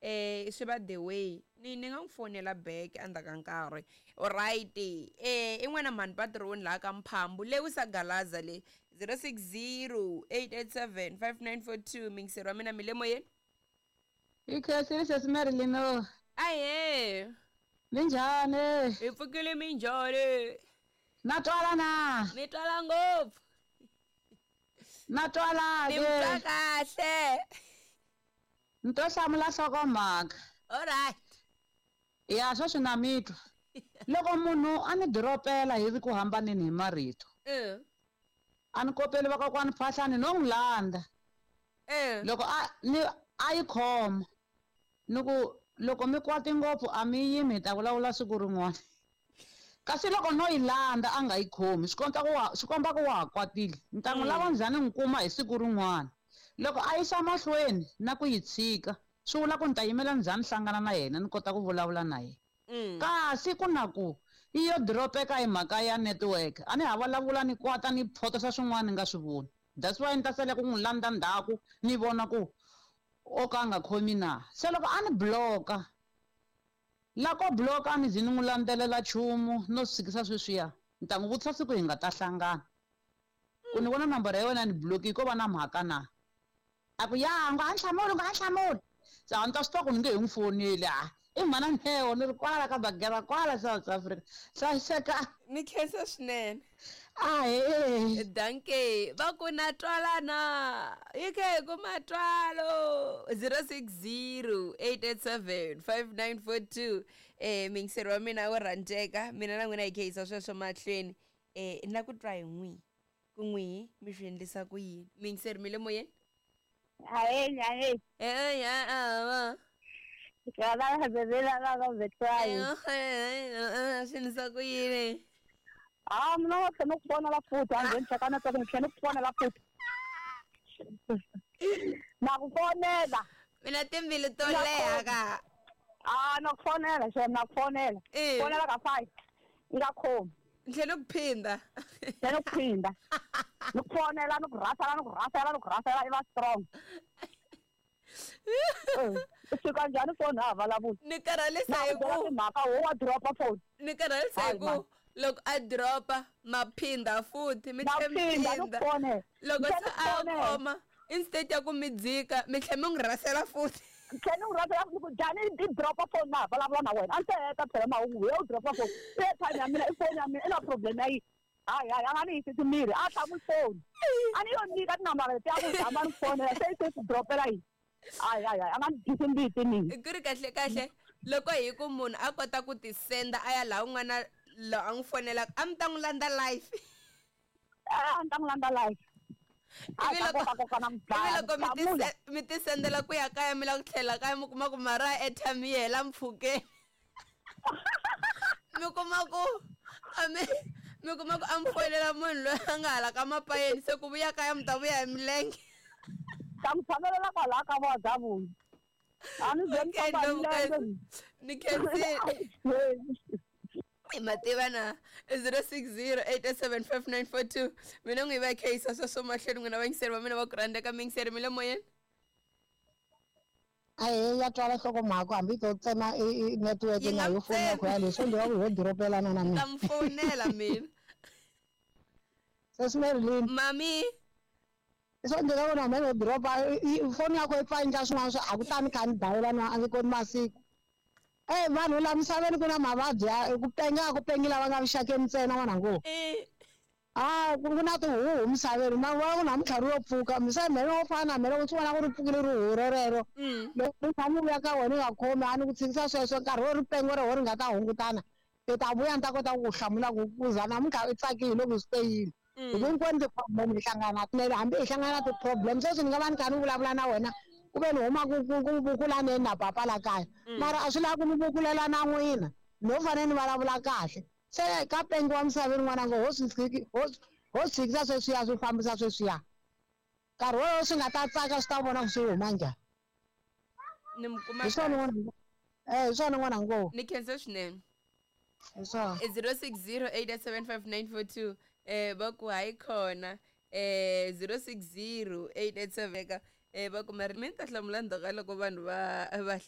Swi va the way ni nga n'wi fonela back endzhaku ka nkarhi. Alright, i n'wana mhani patroni laha ka Mphambu Lewisa Galaza le 060 887 5942. Mingiseri wa mina, mi le moyeni. Hi khensile, sesi Marilyn. Ahee. Minjhani? Hi pfukile, minjhani? Na twala na? Mi twala ngopfu. Na twala. Ni mi twa kahle. Ni to hlamula nhlokomhaka. Alright. Ya sweswi na mi twa. Loko munhu a ni diropela hi ri ku hambaneni hi marito, a ni kopeli vakokwani phahlani no n'wi landza. Loko a ni a yi khoma, ni ku loko mi kwati ngopfu a mi yimi, hi ta vulavula siku rin'wana. Kasi loko no yi landza a nga yi khomi, swi komba ku wa ha kwatile. Ni ta n'wi lava njhani n'wi kuma hi siku rin'wana. Loko a yisa mahlweni na ku yi tshika, swi vula ku ni ta yimela njhani hlangana na yena ni kota ku vulavula na yena. Kasi ku na ku yi yo diropeka hi mhaka ya network, a ni ha vulavula ni kwata ni photosa swin'wana ni nga swi voni. That's why ni ta sala ku n'wi landza ndzhaku ni vona ku o ka a nga khomi na. Se loko a ni block-a, la ko block-a a ni zi ni n'wi landzelela nchumu, no swi tshikisa sweswiya. Ni ta n'wi vutisa siku hi nga ta hlangana ku ni vona nambara ya wena ni block ko va na mhaka na. A ku ya nga ha hlamuli, nga ha hlamuli. Se a ni ta swi tiva ku ni nge he n'wi foneli. A i mhana Neo, ni ri kwala ka Bagera kwala South Africa. Hlayiseka. Ni khensa swinene. Ahee. Danke. Va ku na twalana hi khe hi kuma twalo. 060 887 5942. Mingiseri wa mina wo rhandzeka, mina na n'wina hi khe yisa sweswo mahlweni. Ni la ku twa hi n'wihi ku n'wihi mi swi endlisa ku yini. Mingiseri, mi le moyeni. Ahee, ahee. Eh. Swi endlisa ku yini? Ah, mina wa tlhela ku fonela futhi, a ndzeni cheka network, ni tlhela ku fonela futhi. Na ku fonela. Mina timbilu to leha ka. Ah, na ku fonela, xem, na ku fonela. Fonela ka 5. Nga khomi. Ni tlhela ku phinda. Tlhela ku phinda. Ni ku fonela, ni ku rhasela, ni ku rhasela, ni ku rhasela, i va strong. U fika njhani foni ha vulavula? Ni karhalisa hi ku timhaka wo wa dropa phone. Ni karhalisa hi ku loko a dropa ma phinda futhi mi tlhela mi phinda, ni phinda. ku fonela. Loko Ni se tlhela a ni ku fonela. khoma, instead ya ku mi dzika, mi tlhela mi n'wi rhasela futhi. Tlhela ni n'wi rhasela ni ku njhani i dropa phone na ha vulavula na wena. A ni se heta phela mahungu, we u dropa phone. I airtime ya mina, i phone ya mina, i na problem ya yini? Hayi, hayi, a nga ni hisisi miri, a hlamuli phone. A ni yo nyika tinambara letiya ku zama ni fonela, se i se ku dropela yini? Hayi, hayi, hayi, a nga ni dyisi mbiti mina. Ku ri kahle kahle, loko hi ku munhu a kota ku ti senda a ya laha un'wana loyi a n'wi fonelaka, a mi ta n'wi landza live. A ni ta n'wi landza live. A Ivi ta loko koka koka na ivi mudlaya, loko mi ti hlamula. mi ti sendela ku ya kaya, mi lava ku tlhela kaya, mi kuma ku mara ya airtime yi hela mpfhukeni. Mi kuma ku a mi mi kuma ku a mi fonela munhu loyi a nga hala ka mapayeni, se ku vuya kaya mi ta vuya hi milenge. Ta n'wi tshamelela kwalaha ka vo Davula. A ni ze ni Okay, famba hi Ndlovukazi. milenge. Ni khensile. Hi mativa na 060 887 5942. Mina n'wi va hi kha yisa sweswo mahlweni, n'wina vayingiseri va mina va ku rhandzeka. Mingiseri, mi le moyeni. Ahee, ya twala nhlokomhaka, hambi to tsema i network Yi na nga yo foni yakho tsemi. yaleyo, swo ndzi ku ho diropelana na Ta mina. mi fonela mina. Sesi Marilyn. Mami. Swo ndzi ku na mina ho diropa foni yakho yi pfa endla swin'wana swo a ku tani kha ni dayela na a ndzi koti masiku. Vanhu la misaveni ku na mavabyi ya ku penga, ku pengi lava nga vuxakeni ntsena n'wana ngo. Ah, ku na tihuhu misaveni, ma vona ku namuntlha ri yo pfuka misava mhene wo fana na mhene u swi vona ku ri pfukile rihuhu rerero. Loko ri tshama u vuya ka wena u nga khomi, a ni ku tshikisa sweswo nkarhi wo ri pengo ro ri nga ta hungutana, i ta vuya ni ta kota ku ku hlamula ku ku za namuntlha i tsakile loko swi te yini. Hi ku hinkwenu ti-problem hi hlangana na tinene, hambi hi hlangana na ti-problem sweswi ni nga va ni kha ni vulavula na wena ku ve ni huma ku ku ku vukulaneni na papa la kaya, mara a swi lavi ku ni vukulela na n'wina, no fanele ni vulavula kahle. Se ka pengo wa misaveni n'wana ngo ho swi tshiki, ho ho tshikisa sweswiya, swi fambisa sweswiya. Nkarhi wolowo swi nga ta tsaka, swi ta vona ku swi huma njhani. Ni mi kuma Hi swona kahle. n'wana ngo. Hi swona n'wana ngo. Ni khensa swinene. Hi swona. 060 887 5942. Va ku hayi khona. 060 887 va ku mari mi ta hlamula ndzhaku ka loko vanhu va hlamule.